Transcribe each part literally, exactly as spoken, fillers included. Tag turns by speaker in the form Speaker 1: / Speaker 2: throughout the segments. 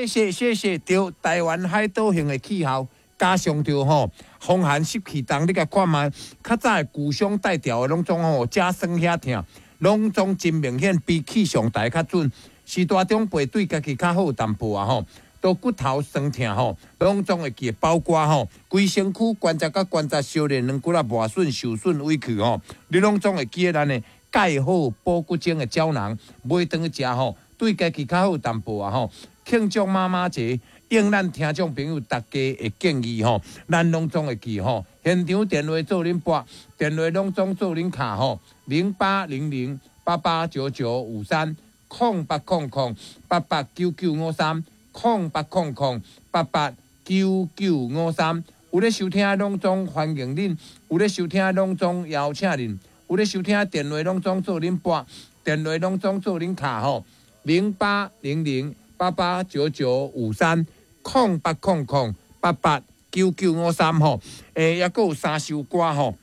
Speaker 1: 謝謝謝謝，對台灣海島型的氣候，加上著吼風寒濕氣重，你共看覓，較早的舊傷帶掉的攏總吼，遮酸遐疼，攏總真明顯比氣象台較準。序大長輩對家己較好淡薄啊吼，都骨頭酸疼吼，攏總會記得包括吼，規身軀關節佮關節相連軟骨仔磨損受損委屈吼，你攏總會記得咱的鈣好補骨精的膠囊，買轉去食吼，對家己較好淡薄啊吼。慶祝媽媽節，應咱聽眾朋友大家的建議吼，咱攏總會記吼。現場電話做恁撥，電話攏總做恁敲吼，零八零零八八九九五三，空八空空八八九九五三，空八空空八八九九五三。有咧收聽攏總歡迎恁，有咧收聽攏總邀請恁，有咧收聽電話攏總做恁撥，電話攏總做恁敲吼，零八零零八八九九五三，空八空空八八九九五三吼，欸，抑閣有三首歌吼，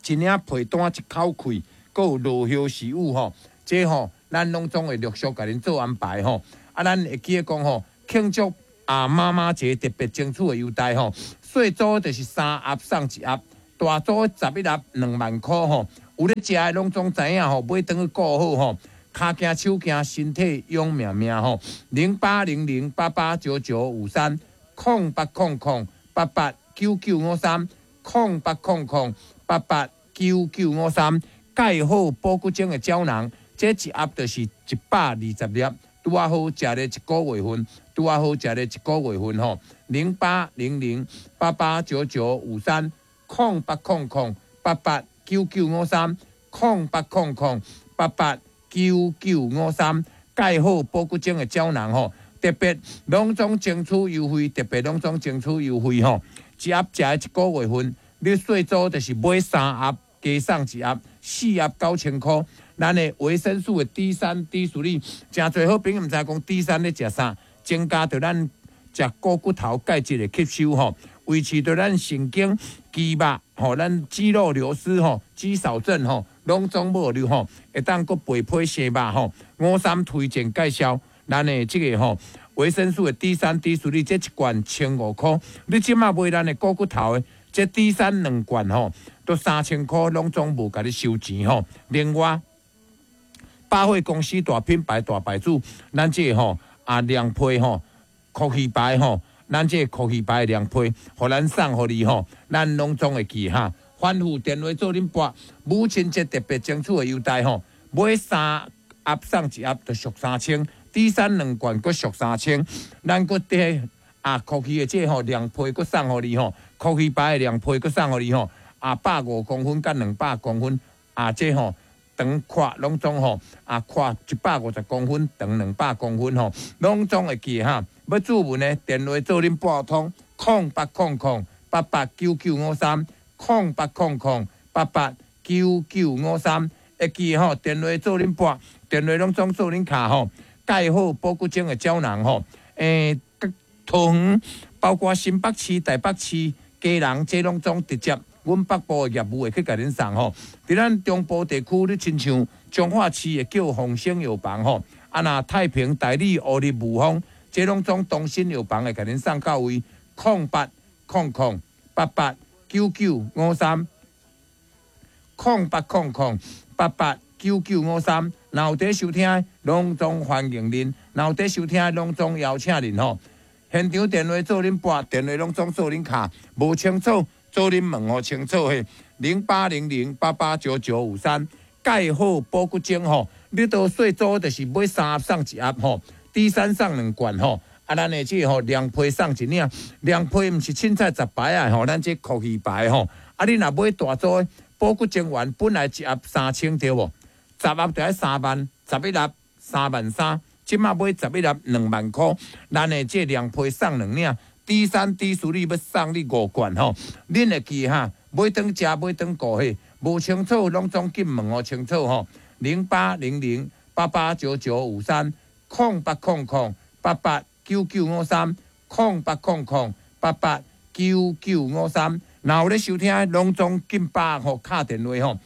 Speaker 1: 一領被單一口氣，閣有落葉時雨吼，這吼咱攏總會陸續共恁做安排吼。啊，咱會記得講吼，慶祝啊媽媽節特別爭取的優待吼，細組就是三盒送一盒，大組十一盒兩萬箍吼。有咧食的攏總知影吼，買轉去顧好吼。跤行手行，身體勇命命吼，零八零零八八九九五三，空八空空八八九九五三，空八空空八八九九五三，鈣好補骨精的膠囊，這一盒就是一百二十粒，拄仔好食咧一個月份，拄仔好食咧一個月份吼，零八零零八八九九五三，空八空空八八九九五三，空八空空八八九九五三，鈣好補骨精的膠囊吼，特別攏總爭取優惠，特別攏總爭取優惠吼，一盒食一個月份，你細組就是買三盒加送一盒，四盒九千箍。咱的維生素的 D 三、D 四，誠濟好朋友毋知講 D 三咧食啥，增加著咱食股骨頭鈣質的吸收吼，維持著咱神經、肌肉吼，咱肌肉流失吼、肌少症吼，攏總無了吼，會當閣肥皮生肉吼。五三推薦介紹咱的這個吼維生素的 D 三、D 四，這一罐千五箍。你這馬買咱的股骨頭的這 D 三兩罐吼，都三千箍，攏總無共你收錢吼。另外，百貨公司大品牌大牌子，咱這個吼啊涼皮吼，酷魚牌吼，咱這個酷魚牌涼皮，予咱送予你吼，咱攏總會記哈。反覆電話做恁撥，母親節特別爭取的優待吼，買三盒送一盒就俗三千，D 三兩罐閣俗三千，咱閣佇啊酷魚的這個吼涼皮閣送予你吼，酷魚牌的涼皮閣送予你吼，啊百五公分佮兩百公分，啊這吼長寬攏總吼，啊寬一百五十公分，長兩百公分吼，攏總會記哈。欲諮詢的電話做恁撥通，空八空空八八九九五三，空八空空八八九九五三，會記吼，電話做恁撥，電話攏總做恁敲吼，鈣好補骨精的膠囊吼，欸，桃園包括新北市、台北市、基隆，這攏總直接阮北部的業務會去共恁送吼。佇咱中部地區，你親像彰化市會叫豐盛藥房吼，啊若太平、大里、烏日、霧峰，這攏總東新藥房會共恁送到位，空八空空八八九九五三，空八空空八八九九五三。若有佇收聽，攏總歡迎恁；若有佇收聽，攏總邀請恁吼。現場電話做恁撥，電話攏總做恁敲，無清楚做恁問予清楚嘿。零八零零八八九九五三，鈣好補骨精吼，你都細組就是買三盒送一盒吼，D 三送兩罐吼。啊，咱的這個吼涼皮送一領，涼皮毋是凊彩雜牌仔吼，咱這酷魚牌吼。啊，你若買大組的補骨精丸，本來一盒三千對無？十盒就愛三萬，十一盒三萬三。這馬買十一盒兩萬箍，咱的這涼皮送兩領，D 三 D 四你欲送你五罐吼，恁會記哈？買轉食，買轉顧嘿，無清楚攏總緊問予清楚吼。零八零零八八九九五三，空八空空八八九九五三，空八空空八八九九五三。若有咧收聽，攏總緊把吼敲電話吼。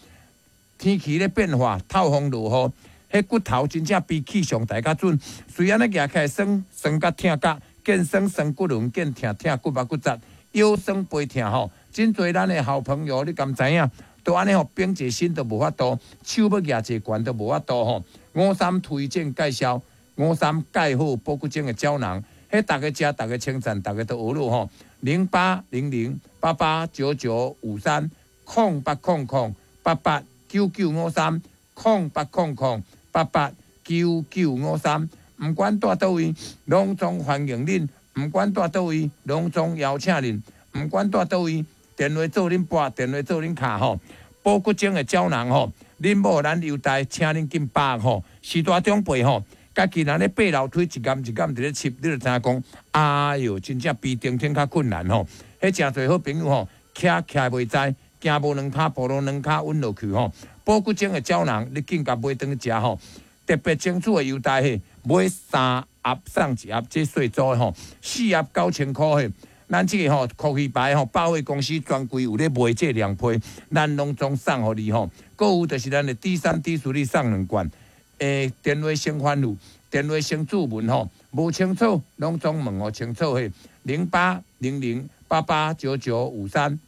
Speaker 1: 天氣咧變化，透風落雨，彼骨頭真正比氣象台較準。雖然按呢舉起來酸酸甲疼甲，見酸酸骨輪，見疼疼骨肉骨節，腰酸背疼吼。真濟咱的好朋友，你敢知影？都按呢吼，繃一身都無法度，手欲舉濟懸都無法度吼。五三推薦介紹，五三蓋好保骨精的膠囊，彼逐家食，逐家稱讚，逐家都學咯吼。零八零零八八九九五三，空八空空八八九九五三，空八空空八八九九五三。毋管蹛佗位，攏總歡迎恁；毋管蹛佗位，攏總邀請恁；毋管蹛佗位，電話做恁撥，電話做恁敲吼。保骨精的膠囊吼，恁某咱優待，請恁緊把握吼。序大長輩吼，家己人咧爬樓梯一儑一儑佇咧吸，你就知影講，哎喲，真正比登天較困難吼。彼誠濟好朋友吼，徛徛袂知，行無兩跤步路兩跤穩落去吼。保骨精的膠囊，你緊共買轉去食吼。特別爭取的優待嘿，買三盒送一盒，這細組的吼，四盒九千箍嘿。咱這個吼，酷魚牌吼，百貨公司專櫃有咧賣這兩批，咱攏總送予你吼。閣有就是咱的 D 三 D 四送兩罐，欸，電話先翻錄，電話先注文吼，無清楚攏總問予清楚嘿。零八零零八八九九五三，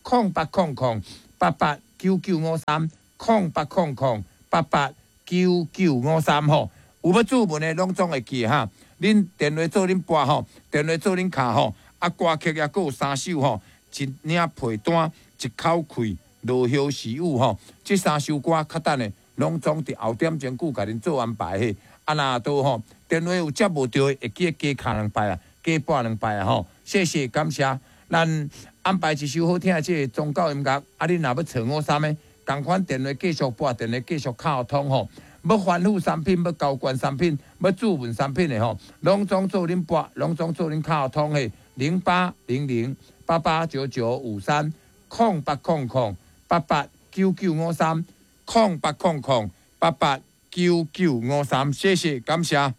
Speaker 1: 空八空空八八九九五三，空八空空八八九九五三吼。有欲注文的攏總會記哈。恁電話做恁撥吼，電話做恁敲吼。啊，歌曲抑閣有三首吼，一領被單，一口氣，落葉時雨吼。這三首歌較等下攏總佇後點鐘久共恁做安排嘿。啊，若都吼，電話有接無著的，會記得加敲兩擺啊，加撥兩擺啊吼。謝謝感謝，咱安排一首好聽的這個宗教音樂。啊，恁若欲揣五三的，仝款電話繼續撥，電話繼續敲通吼。欲翻覆產品，欲交換產品，欲注文產品的吼，攏總做恁撥，攏總做恁敲通的，零八零零八八九九五三，空八空空八八九九五三，空八空空八八九九五三，謝謝感謝。